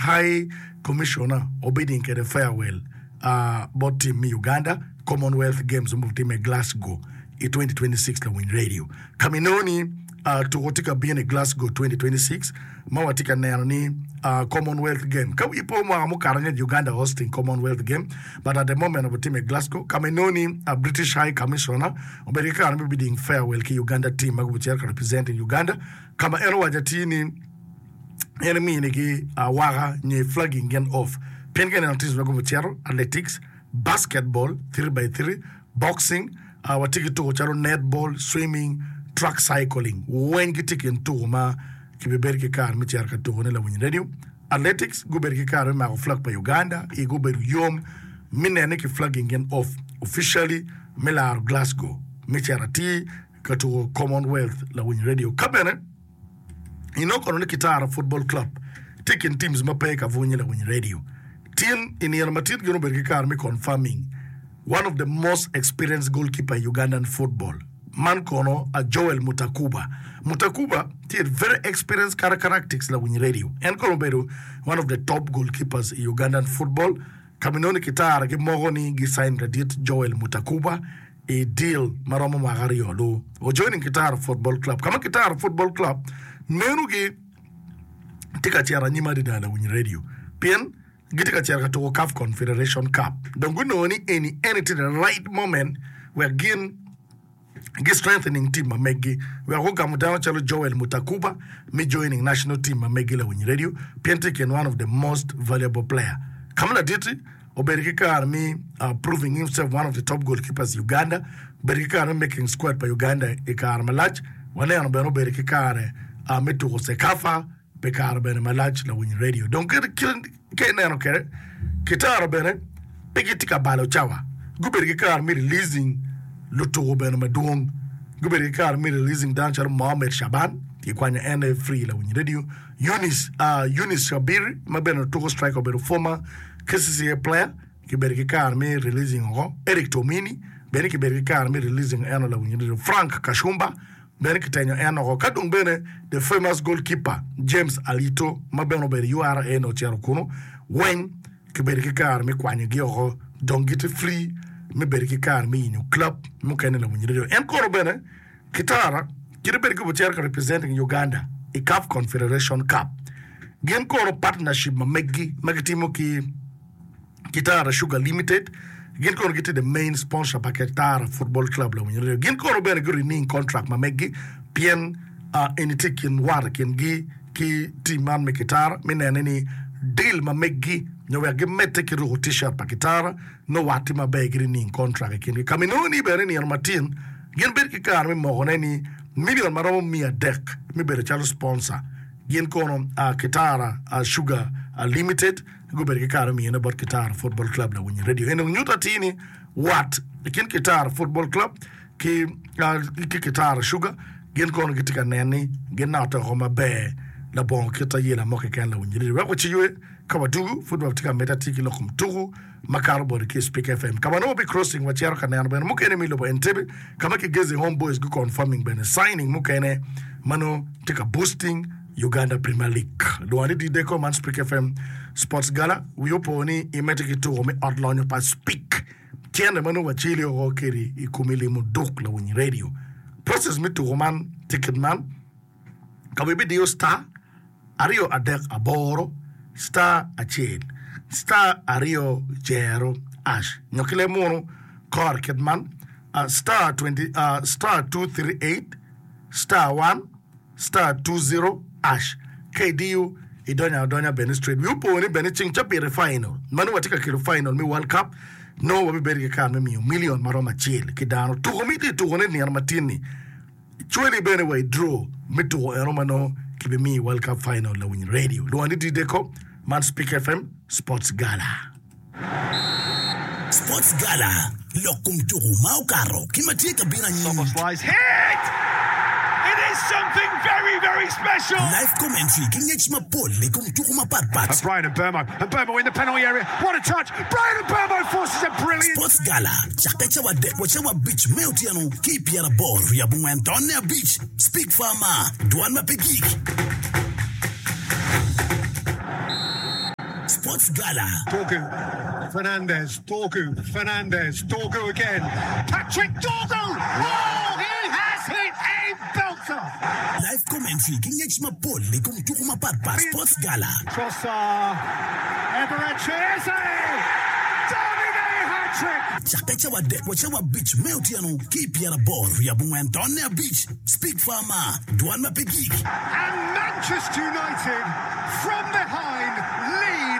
High Commissioner obidding kwede farewell bot team me Uganda Commonwealth Games ma obitimme i Glasgow i 2026 lawiny radio. Ka ma inongo ni tuko tye ka bino i Glasgow 2026 ma watye ka neno ni Commonwealth Game. Ka wii po mwaka mukato angec Uganda hosting Commonwealth Game but at the moment obitimme i Glasgow ka ma inongo ni British High Commissioner obedo ki kare me bidding farewell ki Uganda team ma gubicito ka representing Uganda ka ma en owaco atir ni en eminigi awaka nyo flagging gin off pien ka ineno teams ma gubicito athletics, basketball, 3x3, boxing, watye ki tuko calo netball, swimming, track cycling weng gitye i kin tuko ma kibibedo ki kare me cito ka tukone lawiny radio. Athletics gubedo ki kare me mako flag pa Uganda i gubedo yom me nene ni ki flagging gin off officially me laro Glasgow me cito atir ka tuko Commonwealth lawiny radio. Ka bene inongo kono ni Kitara Football Club tye i kin teams ma pe ka bwunye lawiny radio. Tin i nino matit gin obedo ki kare me confirming one of the most experienced goalkeeper i Ugandan football man kono a Joel Mutakuba. Mutakuba tye very experienced characteristics lawiny radio. En kono obedo one of the top goalkeepers i Ugandan football. Ka ma inongo ni Kitara gimoko ni gi sign ladit Joel Mutakuba i deal ma romo mwaka aryo lu o joining Kitara Football Club. Ka ma Kitara Football Club meno gi tye ka cito anyim adada lawiny radio pien gitye ka cito ka tuko CAF Confederation Cup dong gunongo ni eni eni tye the right moment wek gin gi strengthening team ma meggi wek gugamo dano calo Joel Mutakuba me joining national team ma meggi lawiny radio pien tye i kin one of the most valuable player ka ma ladit-ti obedo ki kare me proving himself one of the top goalkeepers i Uganda obedo ki kare me making squad pa Uganda i kare malac waneno bene obedo ki kare me tuko CECAFA Pi kare bene malac lawiny redio dong kit ka ineno kwede kitara bene pe gitye ka balo cawa gubedo ki kare me releasing lutuku bene madwong gubedo ki kare me releasing dano calo Mohammed Shaban kikwanyo en aye free lawiny redio Eunice Eunice Shabiri ma bene otuko striker obedo former KCCA player kibedo ki kare me releasing oko Eric Tomini bene kibedo ki kare me releasing eno lawiny redio Frank Kashumba Bene kitenyo en oko. Ka dong bene the famous goalkeeper James Alito ma bene obedo i URA ni ocito kunu weng kibedo ki kare me kwanyogi oko dong gitye free me bedo ki kare me yenyo club mukene lawiny radio. En kono bene Kitara kite bed ki ocito ka representing Uganda i CAF Confederation Cup. Gin kono partnership ma meggi ma gitimo ki Kitara Sugar Limited gin kono gitye the main sponsor pa Kitara Football Club lawiny radio. Gin kono bene gu renewing contract ma meggi pien eni tye i kin wat i kingi ki team man me Kitara me nene ni deal ma meggi nyo wek gimedde ki ruko t-shirt pa Kitara nongo wat tye maber gi renewing contract i kingi. Ka ma inongo ni bene nino matin gin bedo ki kare me mokone ni million ma romo 300 me bedo calo sponsor gin kono Kitara Sugar Limited Gubedo ki kare me miyone bot Kitara Football Club lawiny redio. En dong nyuto atir ni wat i kin Kitara Football Club ki ki Kitara Sugar gin kono gitye ka nen ni ginotte oko maber labongo kit ayela mo keken lawiny redio. Wek waciywe ka wadugu pud watye ka medde atir ki lok kom tuku makato boti ki i Spik FM. Ka ma nongo wabi crossing wacito ka neno bene mukene me i lobo Entebbe ka ma Kigezi Homeboyz gu confirming bene signing mukene ma nongo tye ka boosting Uganda Premier League. Lwongo ni Dideko man Spik FM Sports Gala. Wi opo ni imedde ki tuko me ot lonyo pa Spik. Cene ma nongo waceli oko kedi i komi limo duk lawiny radio. Process me tuko man tye kit man. Ka ibidiyo star aryo adek aboro star acel star aryo jero ash nyo ki leb munu kore kit man star 20 star 238 star 1 star 20 ash ka idiyo idonyo adonya bene straight. Wi opo ni bene ceng cabit i final ma nongo watye ka kelo final me World Cup nongo wabibedo ki kare me miyo million maromo acel ki dano. Tuko ma itye tukone nino matin ni cwali bene wa i draw me tuko eno ma nongo kibimiyo i World Cup final lawiny radio. Lwongo ni Dideko man Speak FM Sports Gala. Sports Gala, Lok kom tuku ma okato ki ma tye ka bino anyim. Live commentary ki ngec mapol i kom tuku mapat pat. Sports Gala cakke cawa adek wa cawa abic me otyeno ki i pyeraboro wiye abongwen tonne abic. Speak Farmer, Dwan ma pe gik. Sports Gala. Dorgu, Fernandes, Dorgu, Fernandes, Dorgu again, Patrick Dorgu! Oh, he has hit a belter! Live commentary ki ngec mapol i kom tuko mapat pat Sports Gala. Trossard, Eberechi Eze! Davide hat-trick! Cakke cawa adek wa cawa abic me otyeno ki i pyeraboro wiye abongwen tonne abic, Speak Farmer, dwan ma pe gik. And Manchester United from behind lead.